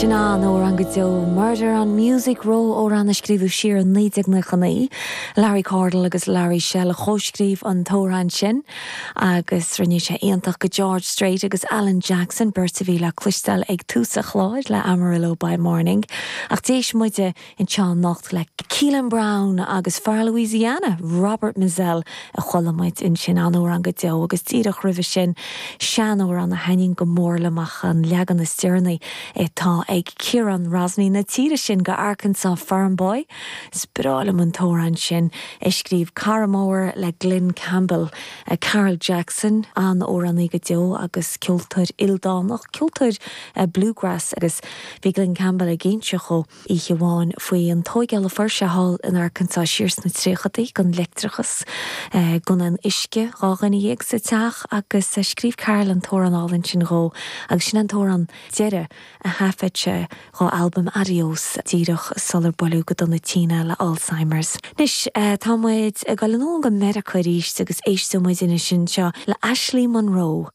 Sin an-amhrán go deo, Murder on Music Row, amhrán a scríobhadh siar i 1999. Larry Cordle agus Larry Shell a chomhscríobh an t-amhrán sin agus rinne sé aontacht go George Strait agus Alan Jackson, beirt a bhí le cloisteáil ag tús an chláir le Amarillo by Morning. Ach d'éist muide anseo anocht le Keelan Brown agus fear Louisiana, Robert Mizzell, a chuala muid ansin, an-amhrán go deo agus díreach roimhe sin, seanamhrán a thaitníonn go mór liom ach an leagan is deireanaí atá ag Ciarán Rosney na tíre sin go Arkansas Farm Boy. Is breá liom an t-amhrán sin, a scríobh cara mór le Glen Campbell, Carl Jackson, an-amhránaí go deo agus ceoltóir ildánach, ceoltóir bluegrass agus bhí Glen Campbell ag inse dhó oíche amháin faoi an tóigeáil a fuair sé thall in Arkansas siar sna tríochadaí, gan leictreachas, gan aon uisce, 12 dhuine sa teach agus scríobh Carl an t-amhrán álainn sin dhó agus sin an t-amhrán deiridh a thaifead sé dhá albam Adios díreach sular buaileadh go dona tinn é le Alzheimer's. Anois tá muid ag dul anonn go Meiriceá arís agus éisteoidh muid anois anseo le Ashley Monroe.